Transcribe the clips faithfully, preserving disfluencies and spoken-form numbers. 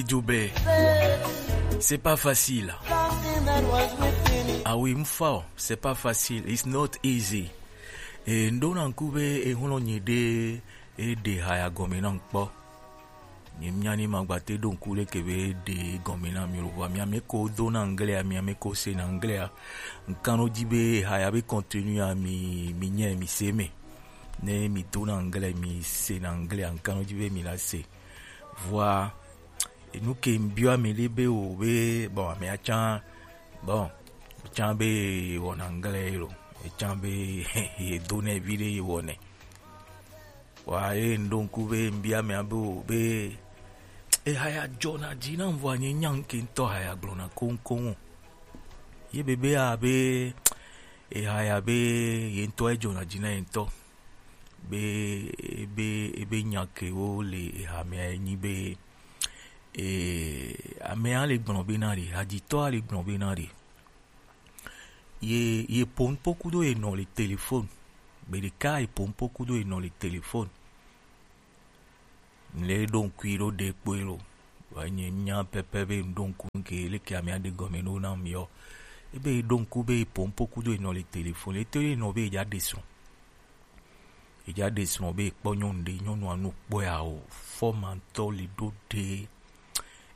Idube. C'est pas facile. Ah oui, mfao, c'est pas facile. It's not easy. Et ndona nkube e hono nyede e de haya gome na nkpo. Nye mia ni magbate do nku le kebe de gome na mi lo wa mia me ko do na anglais, mia me ko se na anglais. Nkano dibe haya be continue a mi mi nye mi se me. Ne mi do na anglais, mi se na anglais, nkano dibe mi la se. Vua enu ke mbiɔ ame ɖe be o be bon ame atsa bon tsa be wɔ na anglais lo etsa be edo ne vi ɖe wɔ ne wa ye ŋɖo ŋku be mbiɔ ame abe o be ehaya dzɔna dzi na vɔ nye nya ŋke ŋutɔ haya gblɔna koŋkoŋ o ye be be a be ehaya be ye ŋutɔ edzɔna dzi na ye ŋutɔ be ebe ebe nya kewo le ehamea enyi be e, amea le gblɔ be na ɖe hadzitɔa le gblɔ be na ɖe ye ye pompo kudo ye nɔ le telefon gbeɖeka ye pompo kudo ye nɔ le telefon le ɖo ŋkui ɖo ɖe kpoe lo wa nye nya pɛpɛ be ŋɖo ŋku ke leke amea ɖe gɔme ɖo na miɔ ebe ɖo ŋku be pompo kudo ye nɔ le telefon le to ye nɔ be ya ɖe srɔ̃ Edza ɖe srɔ̃ be ekpɔ nyɔnu ɖe, nyɔnua nu kpɔe a o, fɔmantɔ le ɖo ɖe,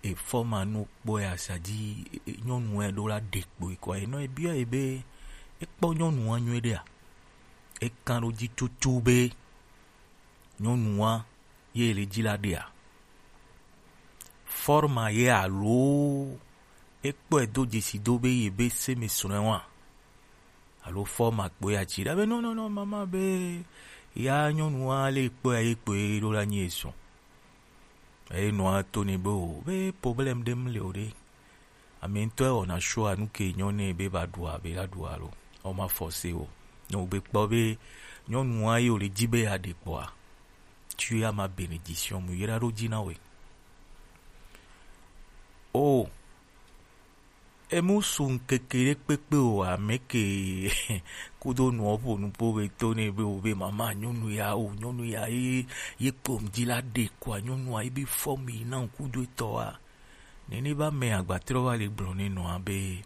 efɔma nu kpɔe a sadzi nyɔnua ɖo la ɖe kpo ekɔ enɔ ebiɔ ye be ekpɔ nyɔnua nyuie ɖea, eka ɖo dzi tutu be nyɔnua ye le dzi la ɖea, fɔma ye alo ekpɔe do dzesi do be ye be se me srɔ̃e wa. Alo fɔ ma kpoe ya tsi ɖa be no no no mama be ya nyɔnua le kpoe ya ye kpoe ɖo la nyi esɔ eye nɔa to ne be o be problem ɖem le o ɖe ame ŋutɔ ewɔna sua nu ke nyɔ ne be va ɖua be la ɖua lo ɔma fɔse o ne o be kpɔ be nyɔnua ye o le dzi be ya ɖe kpɔa tu ya ma bénédiction mu yra ɖo dzi na we o Emu su ŋkeke ɖe kpekpe o ame ke kudo nuɔ ƒo nuƒo be to ne be o be mama nyɔnu ya o nyɔnu ya ye ye kpom dzi la ɖe kɔa nyɔnua ye be fɔ mi na ŋkudo etɔ wa nene ba me agbatrɔ va le gblɔ ne nɔa be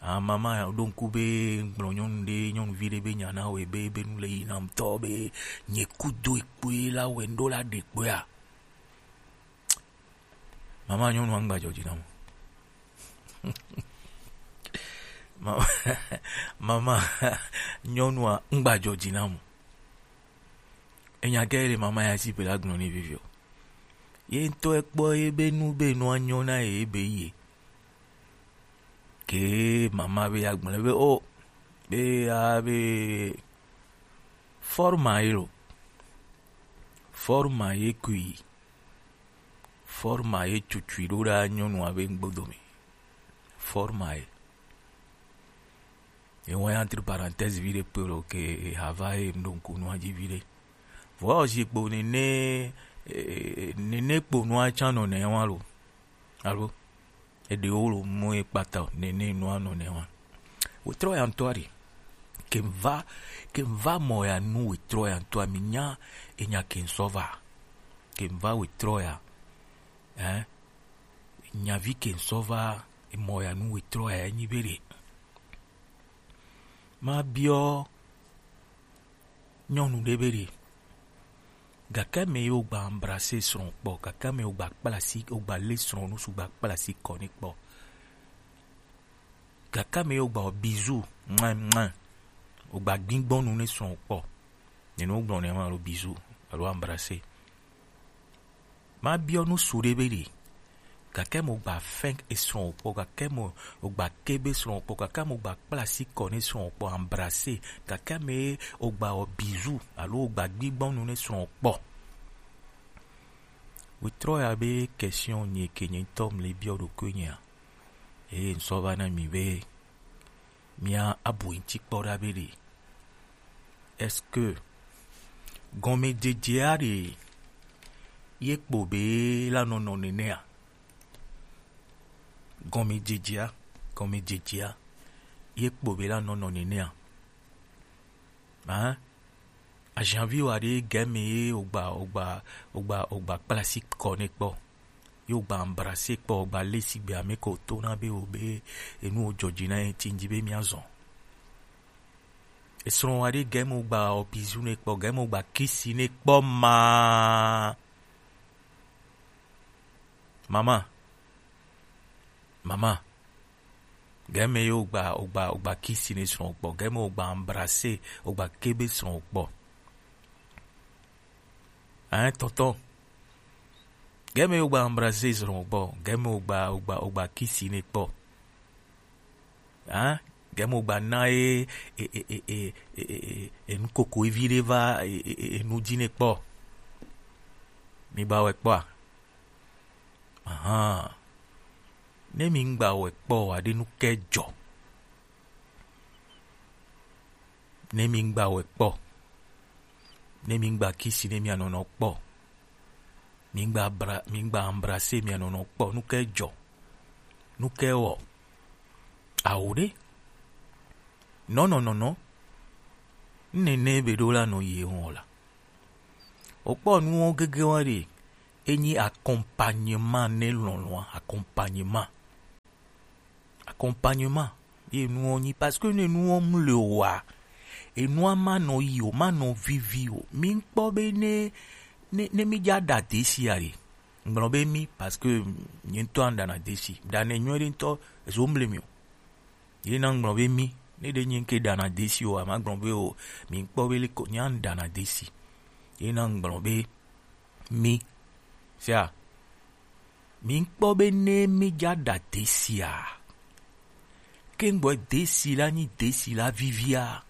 a mama ɖo ŋku be gblɔ nyɔnu ɖe nyɔnuvi ɖe be nya na o ebe ebe nu le yi nam tɔ be nye kudo ekpoe la wɛ ŋɖo la ɖe kpoea Mama nyɔnua ŋgbadzɔ dzi nam. Mama, mama nyɔnua ŋgbadzɔ dzi nam. Enya ke le mama ya si pe la gblɔ ne vivio. Ye ŋutɔ ekpɔ ye be nu be nua nyɔ na ye be ye. Ke mama be ya gblɔ be o be ya be forma ye lo. Forma ye kui. Forma ye tutsui ɖo ɖa nyɔnua be ŋgbo dome. Forma ye. Ye wɔn entre parenthèse vi ɖe kpe lo ke hava ye ŋɖo ŋku nua dzi vi ɖe. Vɔ zi kpo nene eh, nene kpo nua tsa nɔ ne wa lo. Alo eɖewo lo mu ye kpata o nene nua nɔ ne wa. Wetrɔ ya ŋutɔ aɖe. Ke va ke va mɔ ya nu wetrɔ ya ŋutɔ mi nya enya ke ŋsɔ va. Ke va wetrɔ ya. Hein? Nyavi ke ŋsɔ va mɔ ya nu wetrɔ ya nyi be ɖe. Ma biɔ nyɔnu ɖe be ɖe. Gake me ye wogba embrasser srɔ̃ kpɔ, gake me wogba kpla asi, wogba lé srɔ̃ nu sugba kpla asi kɔ ne kpɔ. Gake me ye wogba wɔ bisou, mwa mwa, wogba gbigbɔnu ne srɔ̃ kpɔ. Nene wogblɔ ne ma alo bisou alo embrasser. Ma biɔ nu su ɖe be ɖe. Gake mo gba fɛn esrɔ̃ wò kpɔ, gake mo wogba ke be srɔ̃ wò kpɔ, gake mo gba kpla asi kɔ ne srɔ̃ wò kpɔ, embrasser, gake me wogba wɔ bisou alo wogba gbigbɔnu ne srɔ̃ wò kpɔ. Wetrɔ ya be question nye ke nye ŋutɔ mle biɔ ɖokui nyea. Eye ŋsɔ va na mi be mia abu ŋuti kpɔ ɖa be ɖe. Est-ce que gɔmedzedzea ɖe ye kpo be la nɔnɔ nenea? Gɔmedzedzea, gɔmedzedzea ye kpo be la nɔnɔ nenea? Hein? Ajanvi wa ɖe game ye ogba ogba ogba ogba kpla asi kɔ ne kpɔ. Yo gba embrasser kpɔ, gba lé sigbe ame ko to na be o be enu o jɔji na ye ti nji be mia zɔn. Esrɔn wa ɖe gɛmɛ o gba o bisou ne kpɔ, gɛmɛ o gba kisi ne kpɔ ma. Mama. Mama. Gɛmɛ yo gba, o gba, o gba kisi ne srɔn kpɔ. Gɛmɛ o gba embrasser, o gba kebe srɔn kpɔ. Hein, tonton? Gɛmɛ o gba embrasser srɔn kpɔ. Gɛmɛ o gba, o gba, o gba kisi ne kpɔ. Hein? Gɛmɛ o gba na e, e, e, e, e, e, e, e, e, nu koko evi ɖe va, e, e, e, e, nu ji ne kpɔ. Mi gba wɛ kpɔ a? Ahan. Ne mi ŋgba wɛ kpɔ wa ɖe nu kɛ jɔ. Ne mi ŋgba wɛ kpɔ. Ne mi ŋgba kisi ne mia nɔnɔ kpɔ. Mi ŋgba bra, mi ŋgba embrasser mia nɔnɔ kpɔ. Nu kɛ jɔ. Nu kɛ wɔ. Awo ɖe. Nɔnɔ nɔnɔ. Nene be ɖo la nɔ ye wɔn la. O kpɔ nuwo gege wa ɖe. Enyi accompagnement ne lɔlɔa, accompagnement. Accompagnement. Ye nuwo nyi, parce que ne nuwo mu le o wa, enua ma nɔ yi o, ma nɔ vivi o. Mi kpɔ be ne, ne, ne mi dza ɖa desi a ɖe. Ŋgblɔ be mi, parce que nye ŋutɔ an ɖana desi. Ɖa ne nyuie ɖe ŋutɔ, ezo mble mi o. Ye na ŋgblɔ be mi, ne ɖe nye ŋke ɖana desi o, a ma gblɔ be o, mi kpɔ be le ko, nya ɖana desi. Ye na ŋgblɔ be mi. Sia. Mi kpɔ be ne mi dza ɖa desi a. Ke ŋgbɔ desi la nyi desi la vivia.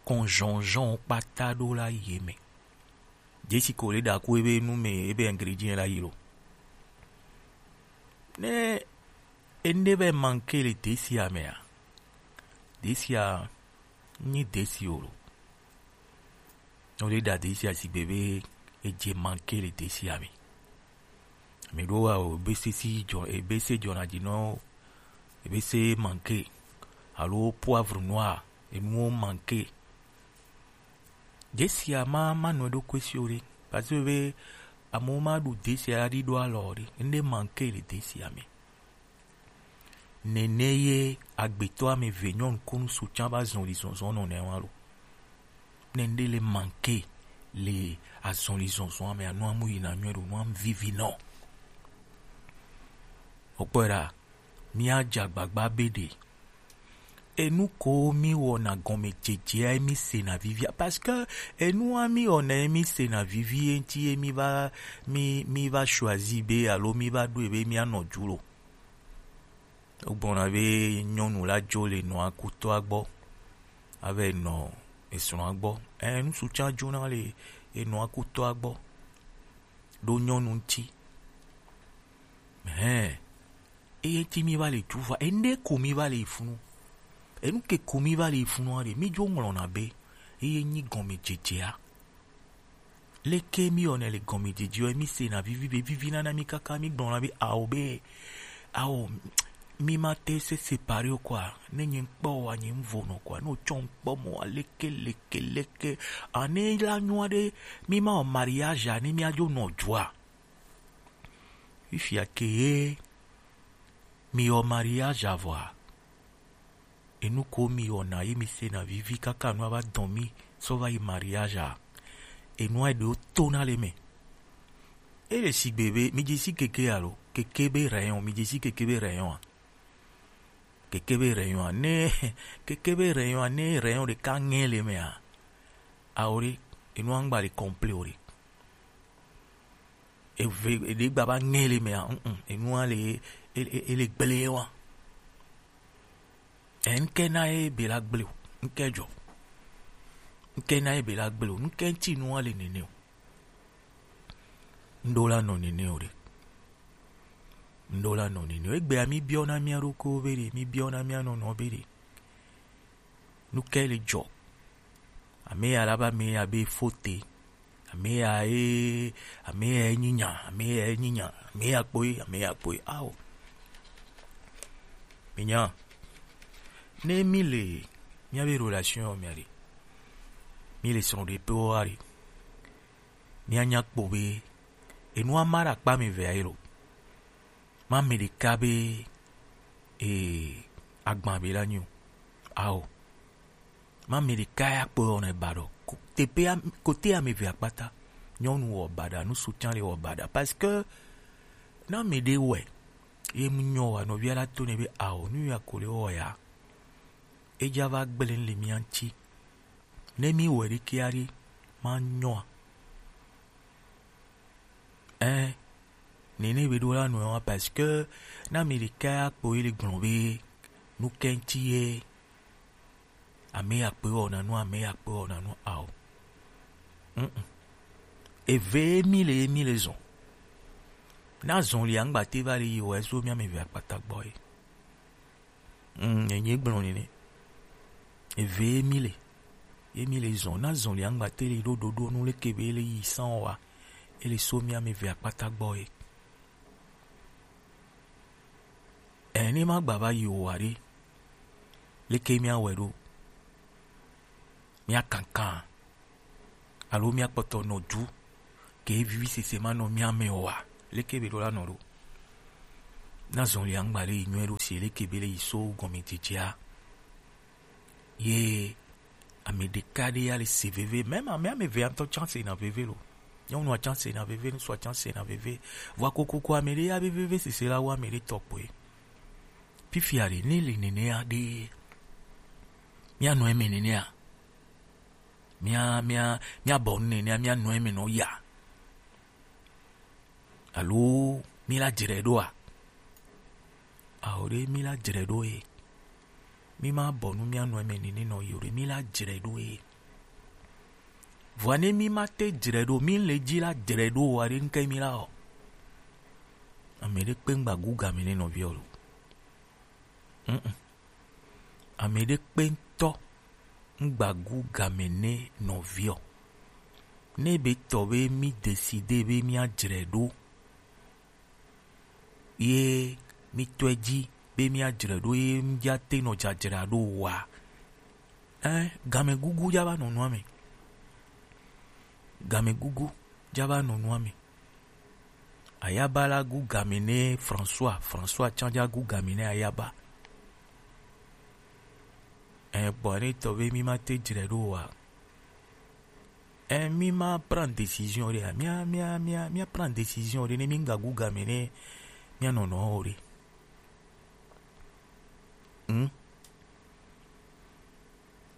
Kɔnzɔnzɔn kpata ɖo la ye me. Desi ko le ɖa ku ebe nu me, ebe ingrédients la yi lo. Ne ene be manquer le desi a me a. Desi a nyi desi o lo. Wo le ɖa desi a sigbe be edze manquer le desi a me. Mi ɖo wa o, ebese si jɔ, ebese jɔna ji nɔ, ebese manquer. Alo poivre noir, enuwo manquer. Desi a ma, ma nɔ ɖo kwesi o ɖe. Parce que be amewo ma ɖu desi a ɖi ɖo alɔ o ɖe. Ŋɖe manquer le desi a me. Nene ye agbetɔ ame eve nyɔnu kunu sutsa va zɔli zɔzɔ nɔ nɛ wa lo. Ne ŋɖe le manquer le azɔli zɔzɔ ame a, nu amu yina nyuie ɖo, nu amu vivi nɔ. O kpɔe ɖa, mia dza gbagba be ɖe. Enu ko mi wɔna gɔmedzedzea mi sena vivia, parce que enua mi wɔna mi sena vivi ye ŋti ye mi va, mi, mi va choisi be alo mi va ɖo ebe mi anɔ ju lo. Wogblɔna be nyɔnu la dzo le nɔa kutɔa gbɔ, ava yi nɔ esrɔ̃a gbɔ. Ɛ, ŋutsu tsã dzona le enɔa kutɔa gbɔ ɖo nyɔnu ŋuti. Hɛn, eye ŋuti mi va le dzu va, ene ko mi va le yi funu. Enu ke ko mi va le yi funua ɖe, mi dzo ŋlɔna be eye nyi gɔmedzedzea. Leke mi wɔnɛ le gɔmedzedze ɔ, mi sena vivi be vivi nana mi kaka mi gblɔna be ao be, ao, mi ma te se séparer o quoi, ne nye ŋkpɔ wa nye ŋvo nɔ quoi, ne o tsɔ ŋkpɔ mɔ wa leke, leke, leke, a ne la nyua ɖe, mi ma wɔ mariage a ne mi adzo nɔ dua. Fifia ke ye mi wɔ mariage a vɔa, enu ko mi wɔna ye mi sena vivi kaka nua va dɔn mi sɔ va yi mariage a, enua ɖewo tona le me. E le sigbe be mi dze si keke alo keke be rayon, mi dze si keke be rayon a. Keke be rayon a, ne keke be rayon a, ne rayon ɖeka ŋɛ le me a, ao ɖe, enua ŋgba le complet o ɖe. Eve, eɖe gba va ŋɛ le mea, mm, mm, enua le, e, e, e le gble wa. Ɛ, ŋkɛ na ye be la gble o, ŋkɛ jɔ. Ŋkɛ na ye be la gble o, ŋkɛ ŋti nua le nene o. Ŋɖo la nɔ nene o ɖe. Ŋɖo la nɔ nene o. Egbea mi biɔna mia ɖokuiwo be ɖe, mi biɔna mia nɔnɔ be ɖe. Nu kae le dzɔ? Ame ya la be ame ya be fote. Ame ya ye, ame ya ye nyi nya, ame ya ye nyi nya, ame ya kpoe, ame ya kpoe. Ao. Mi nya. Ne mi le, mia be relation mea ɖe. Mi le srɔ̃ɖeƒe wa ɖe. Mia nya kpɔ be, enua ma ɖe akpa ame evea ye lo. Ma mɛ ɖeka be, ee, agban be la nyo. Ao. Ma mɛ ɖeka ya kpɔ yɔ ne ba ɖo. Ko-, teƒe am-, kote ame eve akpata. Nyɔnu wɔ baɖa, ŋutsu tsã le wɔ baɖa. Parce que na mɛ ɖe wɛ, ye mu nyɔ wa, nɔvia la to ne be, ao, nu ya ko le wɔ ya. Edza va gblẽ le mía ŋuti. Ne mí wɔ ɖekɛ aɖe, ma nyɔa? Ɛ, nene be ɖo la nɔe wa, parce que na mi ɖeka ya kpɔ ye le gblɔ be nu kɛŋti ye, ame ya kpe wɔna nu, ame ya kpe wɔna nu ao. Mm-mm. Eve ye mi le, ye mi le zɔn. Na zɔn li angba te va le yi wɔ eso mía ame eve akpata gbɔ ye. Mm, enye gblɔ nene. Eve ye mi le. Ye mi le zɔn. Na zɔn li angba te le ɖo ɖoɖo nu leke be le yi san wa. Ele so mía ame eve akpata gbɔ ye. Ene ma gba va yi o wa ɖe. Leke mía wɛ ɖo? Mía kankan. Alo mía kpɔtɔ nɔ du. Ke vivi sese ma nɔ mía me o wa. Leke be ɖo la nɔ ɖo? Na zɔn li angba ɖe yi nyɔe ɖo si leke be le yi so gɔme dzedzea. Ye ame ɖeka ɖe ya le se veve. Même ame, ame eve ya ŋutɔ chance na veve lo. Nyɔnua chance na veve, ŋutsua chance na veve. Vɔa kokoko ame ɖe ya be veve sese la wu ame ɖe tɔ kpoe. Fifia ɖe, ne le nenea ɖe, mía nɔ eme nenea. Mía, mía, mía bɔ nu nenea, mía nɔ eme nɔ ya. Alo mí la dzre ɖoa? Ao ɖe, mí la dzre ɖo ye. Mí ma bɔ nu mía nɔ eme nene nɔ yi o ɖe, mí la dzre ɖo ye. Vɔa ne mí ma te dzre ɖo, mí le dzi la dzre ɖo wa ɖe ŋke mí la o. Ame ɖe kpe ŋgba gu game ne nɔviɔ lo. Mm-mm. Ame ɖe kpe ŋutɔ ŋgba gu game ne nɔviɔ. Ne be tɔ be mí décider be mía dzre ɖo, ye mí tɔe dzi be mía dzre ɖo ye mía te nɔ dzadzra ɖo wa. Ɛ, game gugu dza va nɔ nua me. Game gugu dza va nɔ nua me. Ayaba la gu game ne François, François tsã dza gu game ne Ayaba. Ɛ, gbɔ ne tɔ be mí ma te dzre ɖo wa. Ɛ, mí ma prend décision ɖe, mía, mía, mía, mía prend décision ɖe, ne mí ŋga gu game ne mía nɔnɔ o ɖe. Hmm?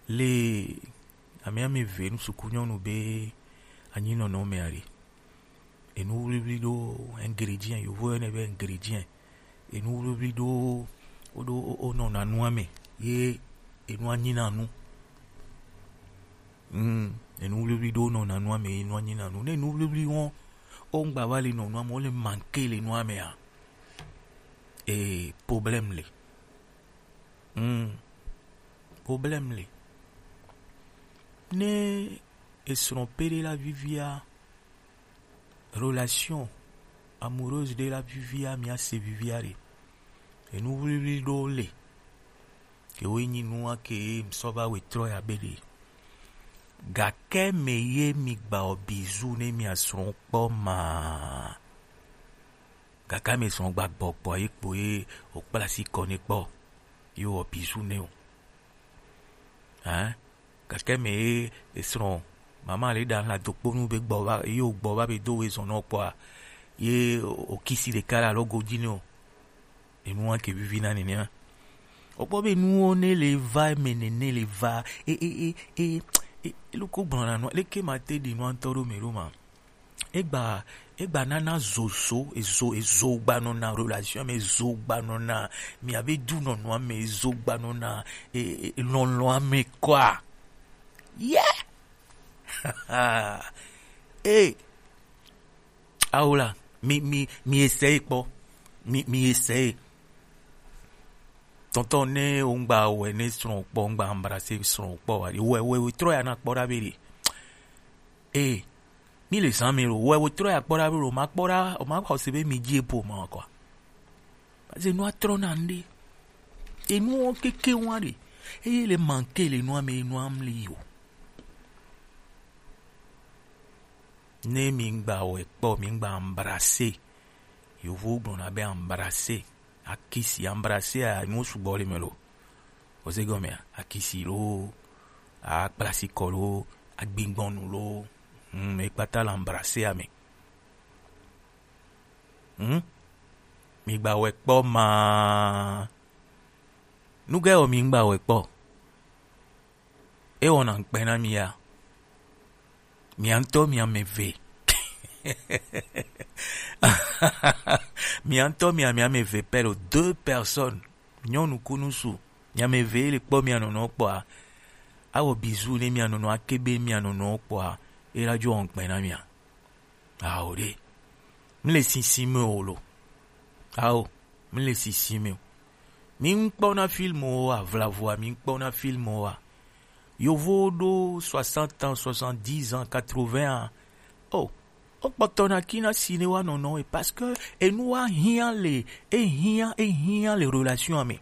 Le ame ame ve nu suku nyɔnu be anyinɔnɔ me aɖe. Enu wliwli ɖo ingrédient, yovo yɔnɛ be ingrédient. Enu wliwli ɖo woɖo wonɔna nua me ye enua nyina nu. Mm, enu wliwli ɖo wonɔna nua me ye enua nyina nu. Ne enu wliwli wɔn wongba va le nɔ nua me, wole manqué le nua mea, ee, problème le. Hmm. Problème le. Ne esrɔ̃ pe ɖe la vivia, relation amoureuse ɖe la vivia, mia se vivia ɖe. Enu wliwli ɖewo le. Ke wo nyi nua ke mi sɔ va wɛ trɔ ya be ɖe. Gake me ye mi gba o bizu ne mia srɔ̃ kpɔ ma. Gake ame sɔ gba gbɔ kpɔ ye kpo ye wòkpla asi kɔ nɛ kpɔ ye wɔ bizu nɛ o. Hein? Gake ame ye esrɔ̃ mama le ɖa la do kponu be gbɔ va ye wògbɔ va be do we zɔn nɔ kpɔa ye wòkisi ɖeka le alɔgo dzi nɛ o. Enua ke vivi na nenea. Wòkpɔ be nuwo ne le va eme nene le va e e e e e loko gblɔna nua leke ma te ɖi nua ŋutɔ ɖo me ɖo ma. Egba, egba nana zozo, ezo, ezo gba nɔna relation me, ezo gba nɔna mia be du nɔnɔa me, ezo gba nɔna e, e, e, lɔlɔa me kɔa. Yeah! Eh! Awo la, mi, mi, mi essaye kpɔ. Mi, mi essaye. Tɔntɔn ne wo ŋgba wɛ ne srɔ̃ kpɔ, ŋgba embrasser srɔ̃ kpɔ wa. Wɛ, wɛ, wɛ, trɔ ya na kpɔ ɖa be ɖe. Eh, mi le zã me lo, wɛ, wɛ, trɔ ya kpɔ ɖa be lo, ma kpɔ ɖa, o ma xɔ se be mi dzi epo ma kɔ. Parce que nua trɔ na ŋɖe. Enuwo keke wa ɖe. Eye le manquer le nua me, nua mli o. Ne mi ŋgba wɛ kpɔ, mi ŋgba embrasser. Yovowo gblɔna be embrasser, akisi, embrasser a, nuwo sugbɔ le eme lo. Oze gɔmea? Akisi lo, akplasikɔ lo, agbigbɔnu lo, hmm, ekpata le embrasser a me. Hmm? Mi gba wɛ kpɔ ma. Nugɛ o mi gba wɛ kpɔ. E wɔna ŋkpɛ na mi ya. Mia ŋutɔ mia me eve. Mia ŋutɔ mia mia me eve pɛ lo, deux personnes. Nyɔnu ku ŋutsu. Mia me eve le kpɔ mia nɔnɔ kpɔa. Awɔ bisou ne mia nɔnɔ, akebe mia nɔnɔ kpɔa. E la dzo ŋkpɛ na mia. Ao ɖe. Mi le sisi me o lo. Ao, mi le sisi me o. Mi ŋkpɔ na film o a, vlavua mi ŋkpɔ na film o a. Yovo ɖo soixante ans, soixante-dix ans, quatre-vingts ans. Oh, o kpɔtɔ na ki na si ne wa nɔnɔ e, parce que enu wa hiã le, e hiã, e hiã le relation a me.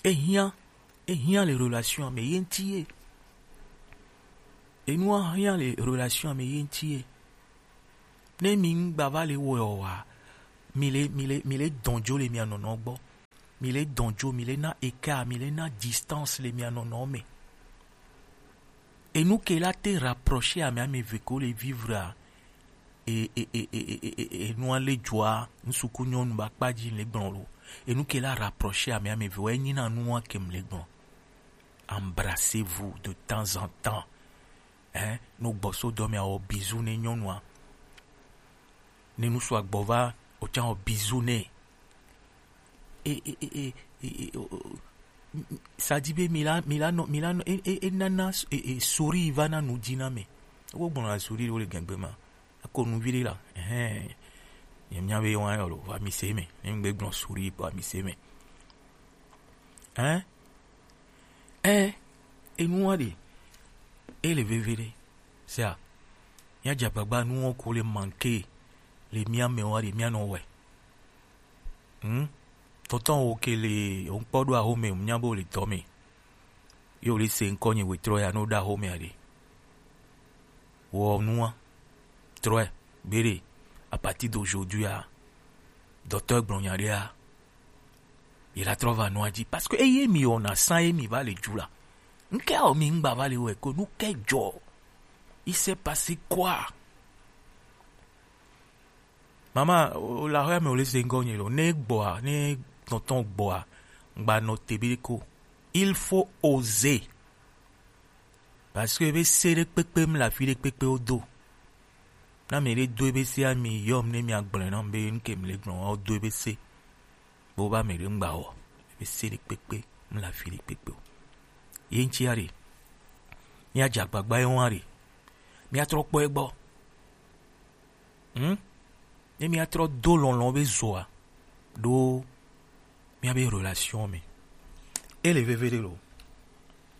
E hiã, e hiã le relation a me ye ŋuti ye. Enu wa hiã le relation a me ye ŋuti ye. Ne mi ŋgba va le wɔe o wa, mi le, mi le, mi le dɔn dzo le mia nɔnɔ gbɔ. Mi le dɔn dzo, mi le na écart, mi le na distance le mia nɔnɔ me. Enu ke la te rapprocher ame ame eve ko le vivre a, e, e, e, e, e, e, e, enu a le dzoa, ŋsuku nyɔnu ba kpa dzi le gblɔ lo. Enu ke la rapprocher ame ame eve, wa enyi na nu wa ke mi le gblɔ. Embrassez-vous de temps en temps. Hein? No gbɔ so dɔ me awɔ bisou ne nyɔnua. Ne ŋsu agbɔ va, o tsa wɔ bisou ne. E, e, e, e, e, e, o, o, m-, m-, ça dit be mi la, mi la nɔ, mi la nɔ, e, e, e nana s-, e, e, sourire va na nu dzi na me. Wo gbɔna sourire wo le gɛngbe ma. Ako nu vi ɖe la. Ɛhɛn. Ye mia be wa yɔ lo, va mi se me. Ne ŋgbe gblɔ sourire kpɔ mi se me. Hein? Ɛ, enua ɖe, e le veve ɖe. Sia, mia dze agbagba nuwo ko le manke le mia me wa ɖe mia nɔ wɛ. Hmm? Tɔntɔn wo ke le, wo ŋkpɔ ɖo axome, mia bo le dɔ me. Yo le se ŋkɔ nye wetrɔ ya no ɖo axome a ɖe. Wɔ nua, trɔe, be ɖe, à partir d'aujourd'hui a, dɔtɔ gblɔ nya ɖe a, ye la trɔ va nua dzi. Parce que eye mi wɔna san ye mi va le dzu la. Ŋke awɔ mi ŋgba va le wɛ ko, nu ke dzɔ? Il s'est passé quoi? Mama, o, o la xɔya me o le se ŋgɔ nye lo. Ne gbɔa, ne tɔntɔn gbɔa, ŋgba nɔ te be ko. Il faut oser. Parce que ebe se ɖe kpekpe mi le afi ɖe kpekpe wo do. Na me ɖe do ebe se a mi yɔ mi ne mi agblɔ na mi be nu ke mi le gblɔ wa wo do ebe se. Bo ba me ɖe ŋgba wɔ. Ebe se ɖe kpekpe mi le afi ɖe kpekpe o. Ye ŋuti a ɖe. Mia dze agbagba ye wa ɖe. Mia trɔ kpɔ egbɔ. Hmm? Ne mia trɔ do lɔlɔ be zoa ɖo mia be relation me. E le veve ɖe lo.